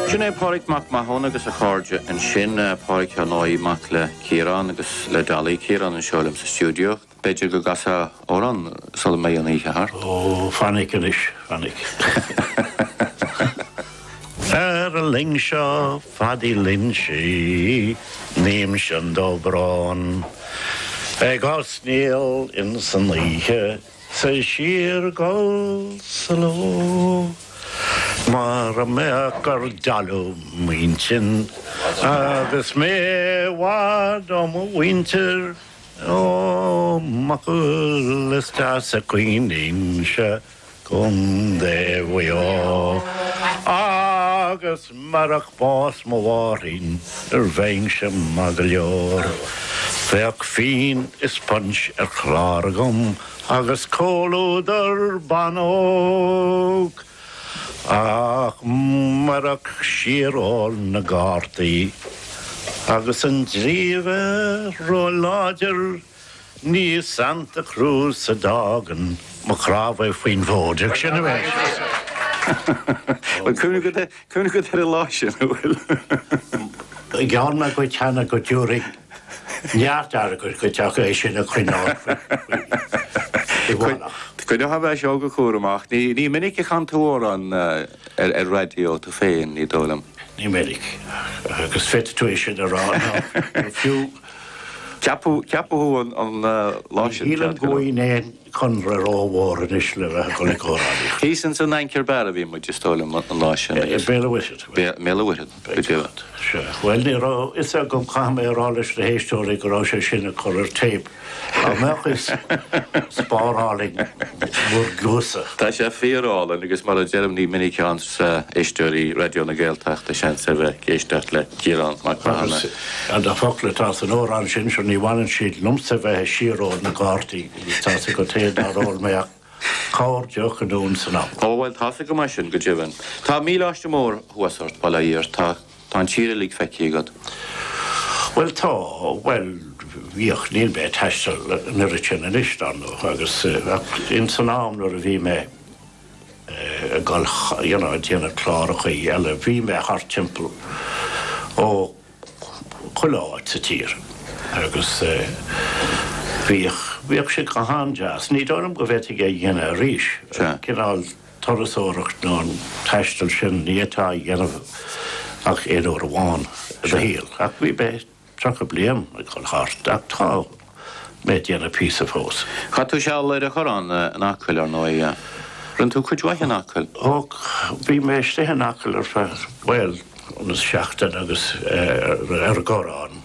Sin é Pádraig Mac Mathúna agus a chairde ansin. Pádraig, ar ndóigh, mac le Ciarán agus le Dolly. Ciarán anseo liom sa stiúideo. B'fhéidir go gcasfá amhrán sula mbeidh an oíche thart? Ó, fainic anois, fainic. Ar an loing seo Phadaí Loinsigh, ním-se an dobrón, Ag osnaíl ins an oíche 's ag síorghol sa ló. Mara mbeadh gur dalladh m'intinn agus mé i bhfad ó mo mhuintir, Ó m'fhocal is deas a chuimhnímse Contae Mhaigh Eo. Agus marach bás mo mháithrín nuair bheinnse maith go leor, bheadh fíon is punch ar chlár agam agus comhluadar ban óg. Ach marach síor-ól na gcártaí agus an dlí a bheith ró-láidir, Ní i Santa Cruz a d'fhágainn mo chnámha faoin bhfód, ach sin é. Bhfuil cuimhne agat, cuimhne agat ar an lá sin, an bhfuil? Gheall mé dhuit cheana go dtabharfainn neart airgid dhuit ach é sin a choinneáil faoi mhallacht. Coinneoidh mé seo go cúramach. Ní, ní minic a chan tú amhrán ar, ar raidió tú féin, ní dóigh liom. Ní minic, agus féadfaidh tú é sin a rá, nó fiú. Ceapadh thú an lá sin. Ní shílim go bhfaighinn aon chonradh rómhór anois le bheith ag dul ag amhránaíocht. Thíos ins an Anchor Bar a bhí muid, is dóigh liom, an lá sin. I mBéal an Mhuirthead. I mBéal an Mhuirthead, go deimhin. Sea. Bhuel, ní raibh fhios agam, caithfidh mé a rá leis na héisteoirí go raibh sé sin ag cur ar téip. Dá mbeadh fhios, spárálfainn bhur gcluasa. Tá sé fíor-álainn agus mar a deirim ní minic a fhaigheanns éisteoirí Raidió na Gaeltachta seans a bheith ag éisteacht le Ciarán Mac Mathúna. Agus na focla atá san amhrán sin seo ní bhaineann siad liomsa bheith ag síor-ól na gcártaí agus tá's agat féin nár ól mé ach corr deoch anonn 's anall. Ó bhuel tá's agam é sin go deimhin. Tá míleáiste mór thuas ort, bail ó Dhia ort. Tá Tá an tír uilig feicthe agat. Bhuel tá, bhuel bhíodh, níl mé ag taisteal an oiread sin anois dar ndóigh agus ach ins an am nuair a bhí mé ag dul you know ag déanamh clárachaí eile bhí mé thart timpeall ó chuile áit sa tír agus bhíodh, bhíodh sé go han-deas. Ní dóigh liom go bhféadfainn é a dhéanamh arís, cineál. turasóireacht nó an taisteal sin, ní fhéadfá a dhéanamh ach aon uair amháin i do shaol. Ach bhí mé 30 bliain ag dul thart, ach tá mé ag déanamh píosa fós. Chaith tú seal ar an Chorrán in Acaill, ar ndóigh. Rinne tú cuid mhaith in Acaill. Ó, bhí mé istigh in Acaill ar feadh, bhuel, seachtain agus ar an gCorrán.